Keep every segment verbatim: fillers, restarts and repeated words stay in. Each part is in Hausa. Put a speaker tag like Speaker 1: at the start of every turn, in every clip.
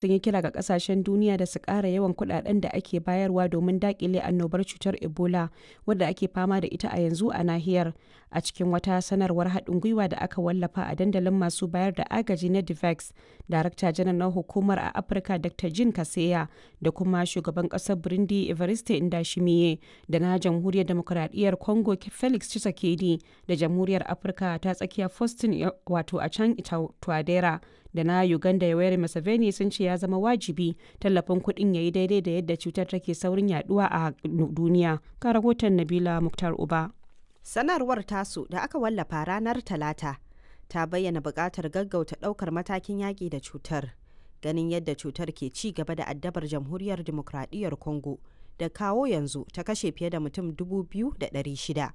Speaker 1: Sun yi kira ga kasashen duniya da su kara yawan kudaden da ake bayarwa domin dakile annobar cutar Ebola wadda ake fama da ita a yanzu a nahiyar, a cikin wata sanarwar hadin gwiwa da aka wallafa a dandalin masu bayar da agaji na DeVax, Darakta Janar na Hukumar a Afirka Dr. Jean Kaseya da kuma Shugaban kasar Burundi Evariste Ndayishimiye da na Jamhuriyar Dimokuraɗiyyar Congo Felix Tshisekedi da Jamhuriyar Afirka ta Tsakiya Faustin Achang Touadera da na Uganda Yoweri Museveni sun ce ya zama wajibi tallafin kuɗin ya yi daidai da yadda cutar take saurin yaduwa a duniya. Ga rahoton Nabila Muktar Uba.
Speaker 2: Sanarwar tasu da aka wallafa ranar Talata ta bayyana buƙatar gaggauta ɗaukar matakin yaƙi da cutar. Ganin yadda cutar ke ci gaba da addabar Jamhuriyar Dimokuraɗiyyar Congo da kawo yanzu ta kashe fiye da mutum dubu biyu da ɗari shida,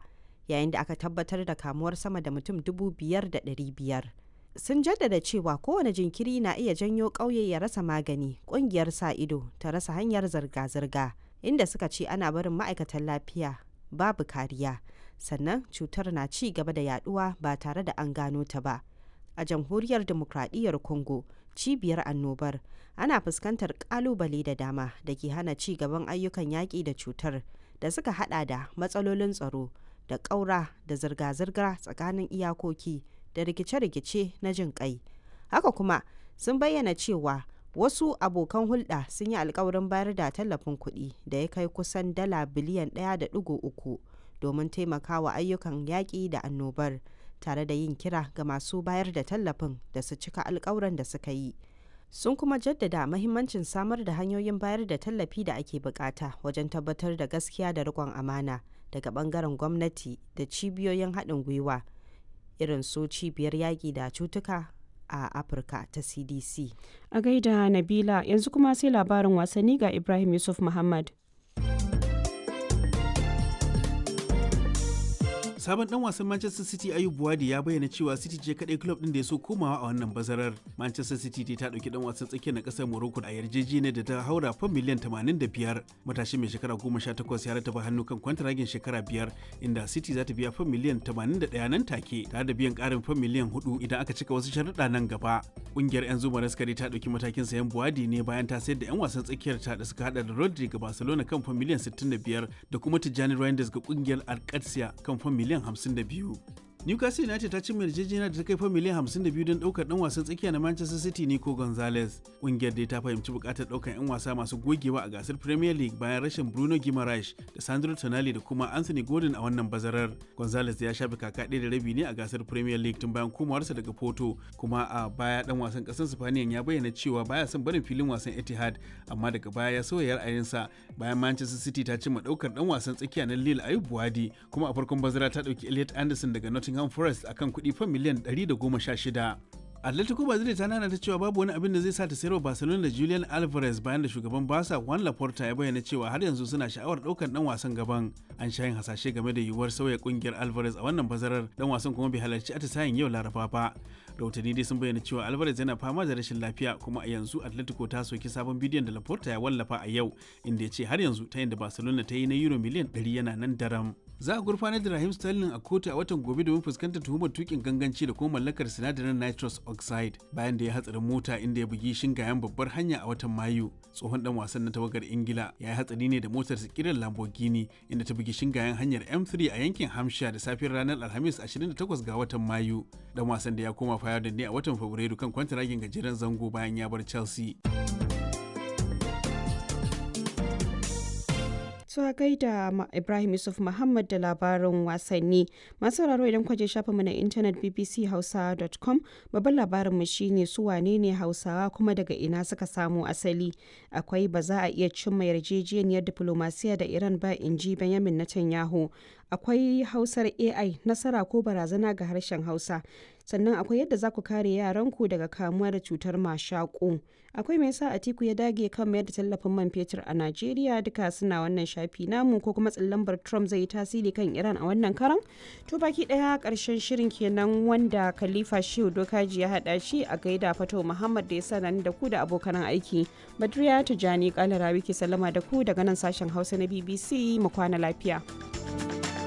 Speaker 2: yayin da aka tabbatar da kamuwar sama da mutum dubu biyar da ɗari biyar. Sun jaddada cewa kowane jinkiri na iya janyo ƙauye ya rasa magani, ƙungiyar sa ido ta rasa hanyar zirga-zirga, inda suka ce ana barin ma'aikatan lafiya babu kariya, sannan cutar na ci gaba da yaduwa ba tare da an gano ta ba. A Jamhuriyar Dimokuraɗiyyar Congo, cibiyar annobar, ana fuskantar ƙalubale da dama da ke hana ci gaban ayyukan yaƙi da cutar, da suka hada da matsalolin tsaro da ƙaura da zirga-zirga tsakanin iyakoki da rikice-rikice na jin kai. Haka kuma sun bayyana cewa wasu abokan hulɗa sun yi alkawarin bayar da tallafin kuɗi da ya kai kusan dala biliyan ɗaya da ɗigo uku domin taimakawa ayyukan yaƙi da annobar, tare da yin kira ga masu bayar da tallafin da su cika alkawuran da suka yi. Sun kuma jaddada mahimmancin samar da hanyoyin bayar da tallafi da ake bukata wajen tabbatar da gaskiya da riƙon amana daga bangaren gwamnati da cibiyoyin haɗin gwiwa irin su Cibiyar Yaƙi da Cutuka a Afirka ta C D C.
Speaker 1: A gaida Nabila, yanzu kuma sai labarin wasanni ga Ibrahim Yusuf Muhammad.
Speaker 3: Sabon dan wasan Manchester City Ayub Buwadi ya bayyana cewa City ce kadai club din da ya so komawa a wannan bazarar. Manchester City ta dauki dan wasan tsakiyar na kasar Morocco a yarjejeniyar da ta haura fam miliyan tamanin da biyar. Matashi mai shekara goma sha takwas ya rataba hannu kan kwantaragin shekara biyar, inda City za ta biya fam miliyan tamanin da ɗaya nan take, tare da biyan karin fam miliyan hudu idan aka cika wasu sharuɗa nan gaba. Kungiyar 'yan zuma raskari ta dauki matakin sayan Buwadi ne bayan ta sayar da 'yan wasan tsakiyar ta da suka hada da Rodri ga Barcelona kan fam miliyan sittin da biyar da kuma Tijjani Reinders ga kungiyar Alcatia kan fam miliyan hamsin da biyu. Newcastle United ta cimma yarjejeniya da ta kai fa miliyan hamsin da biyu don daukar dan wasan tsakiya na Manchester City Nico Gonzalez. Kungiyar dai ta fahimci bukatar daukar 'yan wasa masu gogewa a gasar Premier League bayan rashin Bruno Guimaraes da Sandro Tonali da kuma Anthony Gordon a wannan bazarar. Gonzalez ya shafe kaka ɗaya da rabi ne a gasar Premier League tun bayan komawarsa daga Porto, kuma a baya dan wasan ƙasar Spaniyan ya bayyana cewa baya son barin filin wasan Etihad, amma daga baya ya sauya ra'ayinsa bayan Manchester City ta cimma daukar dan wasan tsakiya na Lille Ayub Buwadi, kuma a farkon bazara ta dauki Elliot Anderson daga Nottingham Nottingham Forest akan kuɗi fan miliyan ɗari da goma sha shida. Atletico Madrid ta nana ta cewa babu wani abin da zai sa ta sayarwa Barcelona da Julian Alvarez, bayan da shugaban Barca Juan Laporta ya bayyana cewa har yanzu suna sha'awar ɗaukar dan wasan gaban. An sha yin hasashe game da yiwuwar sauya kungiyar Alvarez a wannan bazarar, dan wasan kuma bai halarci atisayen yau Laraba ba. Rahotanni dai sun bayyana cewa Alvarez yana fama da rashin lafiya, kuma a yanzu Atletico ta soki sabon bidiyon da Laporta ya wallafa a yau, inda ya ce har yanzu ta da Barcelona ta yi na euro miliyan ɗari yana nan daram. Za a gurfanar da Raheem Sterling a kotu a watan gobe domin fuskantar tuhumar tukin ganganci da kuma mallakar sinadarin nitrous oxide, bayan da ya hatsarin mota inda ya bugi shingayen babbar hanya a watan Mayu. Tsohon dan wasan na tawagar Ingila ya yi hatsari ne da motar kiran Lamborghini, inda ta bugi shingayen hanyar M three a yankin Hampshire da safiyar ranar Alhamis ashirin da takwas ga watan Mayu. Dan wasan da ya koma Feyenoord ne a watan Fabrairu kan kwantaragin gajeren zango bayan ya bar Chelsea.
Speaker 1: To a gaida Ibrahim Yusuf Muhammad da labarin wasanni. Masu sauraro, idan kwaje shafinmu na intanet b b c hausa dot com, babban labarinmu shine su wane ne Hausawa kuma daga ina suka samo asali. Akwai ba za a iya cimma yarjejeniyar diplomasiya da Iran ba, in ji Benjamin Netanyahu. Akwai Hausar A I, nasara ko barazana ga harshen Hausa. Sannan akwai yadda za ku kare yaranku daga kamuwa da cutar mashaƙo. Akwai me yasa Atiku ya dage kan mayar da tallafin man fetur a Najeriya, duka suna wannan shafi namu, ko kuma lambar Trump zai yi tasiri kan Iran a wannan karan. To, baki daya karshen shirin kenan wanda Khalifa Shehu Dokaji ya hada shi. A gaida Fato Muhammad da ya sa da ku da abokan aiki. Badriya Tijani Kalarawi ke sallama da ku daga nan sashen Hausa na B B C, mu kwana lafiya.